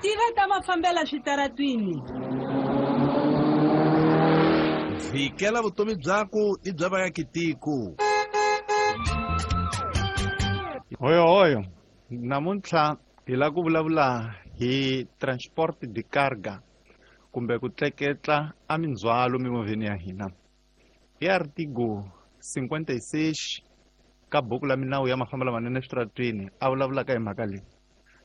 Tiva ta mafambela switaratwini. Vhikela vutomi byaku ni bya vaakitiko. Hoyo hoyo, namuntlha hi lava ku vulavula hi transport de carga kumbe ku tleketla a mindzhwalo mimovheni ya hina. Hi artigo 56 ka buku la minawu ya mafambelo lamanene eswitaratwini a vulavulaka hi mhaka leyi.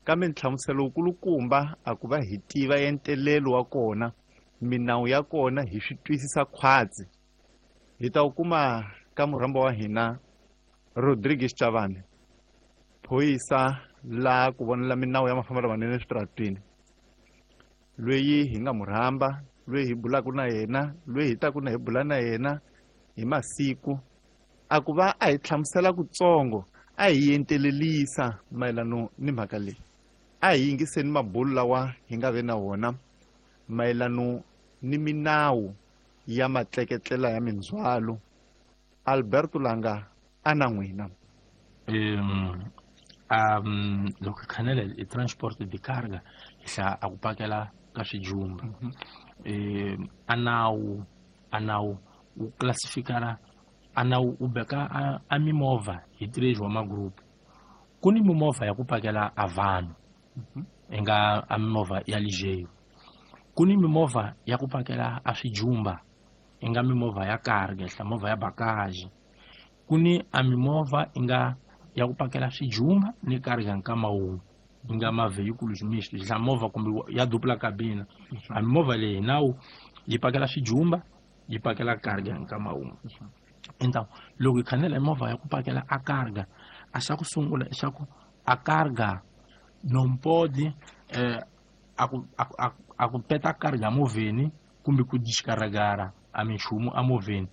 Kambe nhlamuselo wukulukumba a ku va hi tiva entelelo wa kona, minawu ya kona hi swi twisisa khwatsi. Hi ta wu kuma ka murhambo wa hina Rodrigues Chavani, phorisa la ku vonela minawu ya mafambelo lamanene eswitaratwini, loyi hi nga murhamba, loyi hi bulaka na yena, loyi hi taku na hi bula na yena hi masiku, a ku va a hi hlamusela kutsongo, a hi entelelisa mayelano ni mhaka leyi. A hi yingiseni mabulu lawa hi nga ve na wona mayelano ni minawu ya matleketlela ya mindzhwalo. Alberto Langa a na n'wina. Loko hi khanela hi transport de carga hi hlaya a ku pakela ka swijumba. A nawu wu classificara, a nawu wu beka a mimovha hi três wa magroup. Ku ni mimovha ya ku pakela a vanhu, i nga a mimovha ya ligeiro. Ku ni mimovha ya ku pakela a swijumba, i nga mimovha ya carga, hla movha ya bagage. Ku ni a mimovha i nga ya ku pakela swijumba ni carga nkama wun'we, i nga ma vehiculos mixtos, hla movha kumbe ya dupla cabina. A mimovha leyi nawu yi pakela swijumba, yi pakela carga nkama wun'we. Então loko hi khanela movha ya ku pakela a carga, a xa ku sungula i xa ku a carga non pode, a ku peta carga movheni kumbe ku descarregar a minchumu a movheni.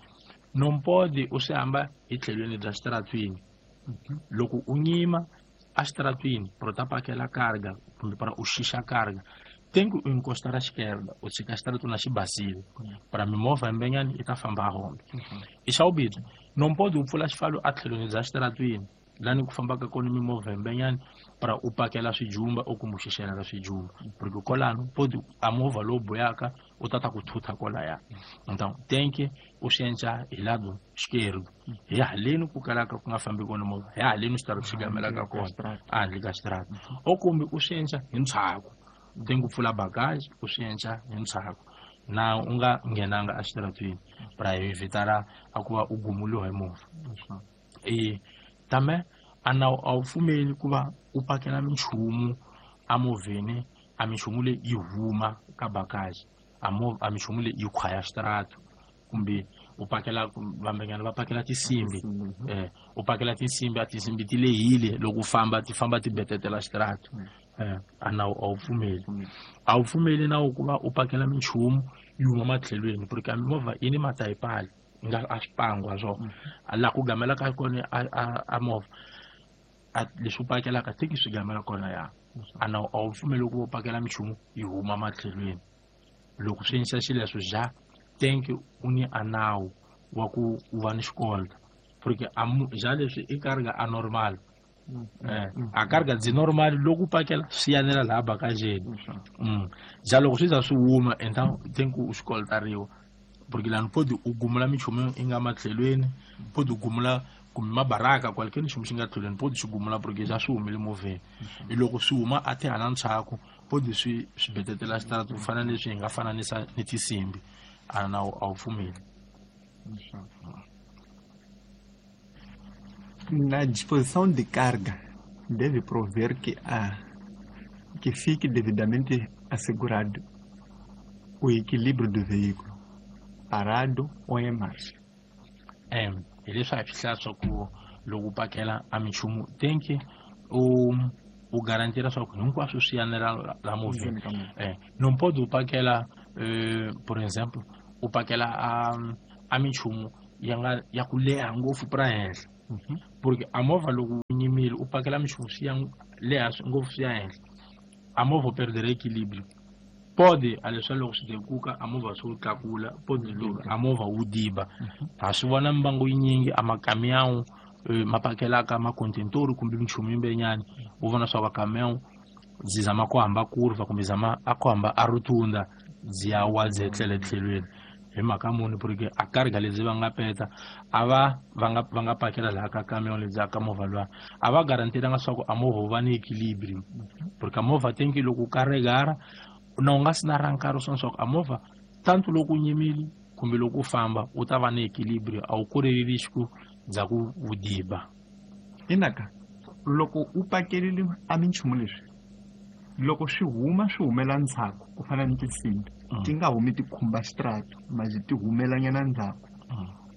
Non pode u swi hamba hi tlhelweni bya xitaratwini. Loko u nyima a xitaratwini para u ta pakela carga kumbe para u xixa carga, tem que encostar à esquerda, u tshika xitaratwini xi basile para mimovha yimbenyani yi ta famba hombe. I xa vumbirhi, non pode u pfula xifalo a tlhelweni bya xitaratwini lani ku fambaka kona mimovha yimbenyani para u pakela swijumba u kumbe u xixela ka swijumba, porque kwalano pode a movha lowu boyaka u ta ta ku thutha kwalaya. Então tem que u swi endla hi lado esquerdo, hi haleni ku kalaka ku nga fambi kona movha, hi haleni xitarato xi gamelaka kona ehandle ka xitarato, o kumbe u swi endla hi ntshaku. Tem que pfula bagage u swi endla hi ntshaku na u nga nghenanga exitaratwini para evitar a ku va u gumuliwa hi movha. Tambe a nawu a wu pfumeli ku va u pakela minchumu emovheni, a minchumu leyi yi huma ka bagage, a minchumu leyi yi khwaya xitarato, kumbe u pakela vambenyana va pakela tinsimbi, u pakela tinsimbi, a tinsimbi ti lehile loko u famba ti famba ti betetela xitarato. A nawu a wu pfumeli. A wu pfumeli nawu ku va u pakela minchumu yi huma matlhelweni, porque a mimovha yi ni matayipali nga a swipangwa swona. A laha ku gamelaka kona a movha, a leswi u pakelaka teki swi gamela kona ya. A nawu a wu pfumeli ku va u pakela minchumu yi huma matlhelweni. Loko swi endlisa xileswo ja tenki u ni a nawu wa ku u va ni xikolta, porque a ja leswi i carga a normal. A carga dzi normal loko u pakela swi yanela laha bagageni. Ja loko swi za swi huma então tenki u xikoltariwa, porque lani podi u gumula minchumu yi nga matlhelweni, podi u gumula kumbe mabaraka kwale nchumu xi nga tlhelweni, podi xi gumula porque ja swi humile movheni. Hi loko swi huma a ti hala ndzhaku, podi swi betetela xitarato ku fana na leswi hi nga fananisa ni tinsimbi. A nawu a wu pfumeli. Na disposição de carga deve prover que fique devidamente assegurado o equilíbrio do veículo, parado ou em marcha. Hi leswi a hi swi hlaya swa ku loko u pakela a minchumu tem que u garantira swa ku hinkwaswo swi yanela la movheni. Não pode u pakela, por exemplo, u pakela a minchumu ya nga ya ku leha ngopfu pra henhla. Porque a movha loko u nyimile u pakela minchumu swi ya leha ngopfu swi ya henhla, a movha u perdere equilíbrio. Pode a leswi loko swi dekuka a movha swi wu tlakula, pode loko a movha wu diba. Ha swi vona mimbangu yinyingi a makamiyawu ma pakelaka makontentori kumbe minchumu yimbenyani, u vona swa va kamiyawu byi zama ku hamba kurva kumbe zama a ku hamba a rutunda byi ya wa byi etlela etlhelweni hi mhaka muni porque a karga lebyi va nga peta a va va nga va nga pakela laha ka camion lebyi ka movha luwa a va garantilanga swa ku a movha wu va ni equilibrium porque a movha tenki loko u karegara na u nga si na ra nkarhi swona swa ku a movha tanto loko u nyimile kumbe loko u famba u ta va ni equilibrium a wu koreleli xiku bya ku vudiba. Inaka loko u pakelile a minchumu leswi loko swi huma swi humela ndzhaku ku fana ni tinsimbi ti nga humi ti khumba xitrato maji ti humelanyana ndzhaku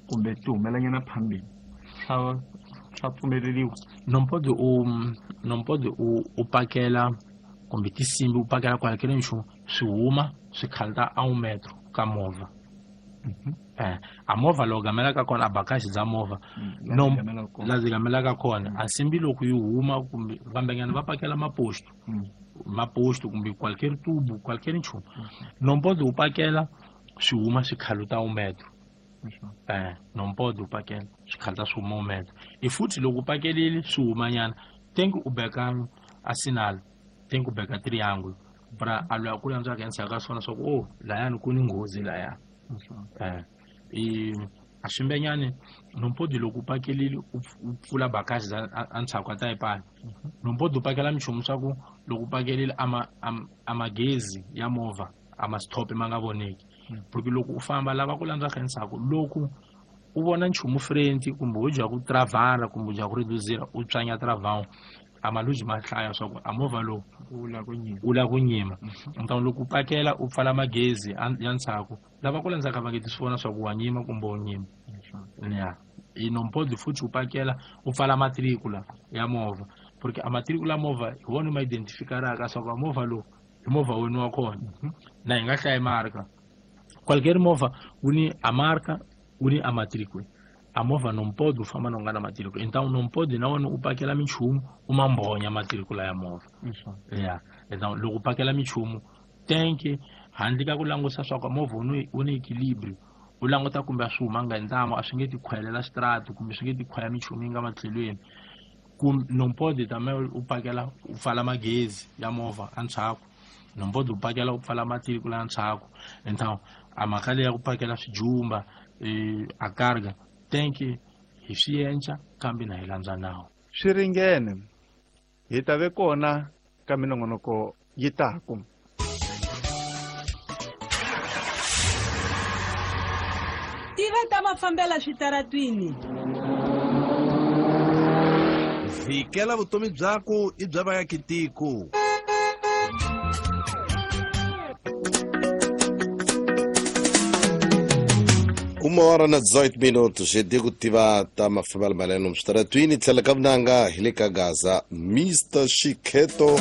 kumbe ti humelanyana phambili swa pfumeleriwa. Nompodi u pakela kumbe tinsimbi u pakela kwala kele nchumu swi huma swi khalta a 1 metro ka movha. A movha loko gamelaka kona a bakaxi bya movha la byi gamelaka kona a nsimbi loko yi huma kumbe vambenyana va pakela maposto maposto kumbe qualquer tubo qualquer nchumu não pode u pakela swi huma swi khaluta 1 metro. Não pode u pakela swi khaluta swi huma 1 metro. E futhi loko u pakelile swi humanyana tem que u beka a sinal tem que u beka triângulo pra a loyi a ku landzaka endzhaku ka swona swa ku oh layani ku ni nghozi laya. E a swimbenyani não pode loko u pakelile u pfula bakaxi endzhaku ka tayipani não pode u pakela minchumu swa ku loko u pakelile a magezi ya movha a ma stop ma nga voneki porque loko u famba lava ku landzaka endzhaku loko u vona nchumu frenti kumbe u dya ku travara kumbe u dya ku reduzira u tswanya travau a maluji ma hlaya swa ku a movha lowu u la ku nyima. Então loko u pakela u pfala magezi ya ndzhaku lava ku landzaka va nge ti swi vona swa ku wa nyima kumbe u nyima. Ya e não pode futhi u pakela u pfala matricula ya movha porque a matricula ya movha hi wona ma identificaraka swa ku a movha lowu hi movha wena wa kona na hi nga hlayi marka qualquer movha wu ni a marka wu ni a matricula a movha não pode u famba na u nga na matricula então não pode na wena u pakela minchumu u ma mbhonya matricula ya movha. Ya então loko u pakela minchumu tenke handle ka ku langusa swa ku movha wu ni equilibrium u languta kumbe a swi humanga hi ntamu a swi nge ti khwelela xitrati kumbe swi nge ti khwaya minchumu yi nga matlhelweni kumbe não pode também u pakela u pfala magezi ya movha endzhaku não pode u pakela u pfala matricula endzhaku. Então a mhaka leyi ya ku pakela swijumba a karga tenke hi swi endla kambe na hi landza nawu. Swi ringene hi ta ve kona ka minongonoko yi taku. Tiva ta mafambela switaratwini. Vikela vutomi byaku i bya vaakitiko. 1:18 Digo tiva ta mafambela maleno msitaratwini tlhela ka vunanga hi le ka Gaza Mr Shikheto.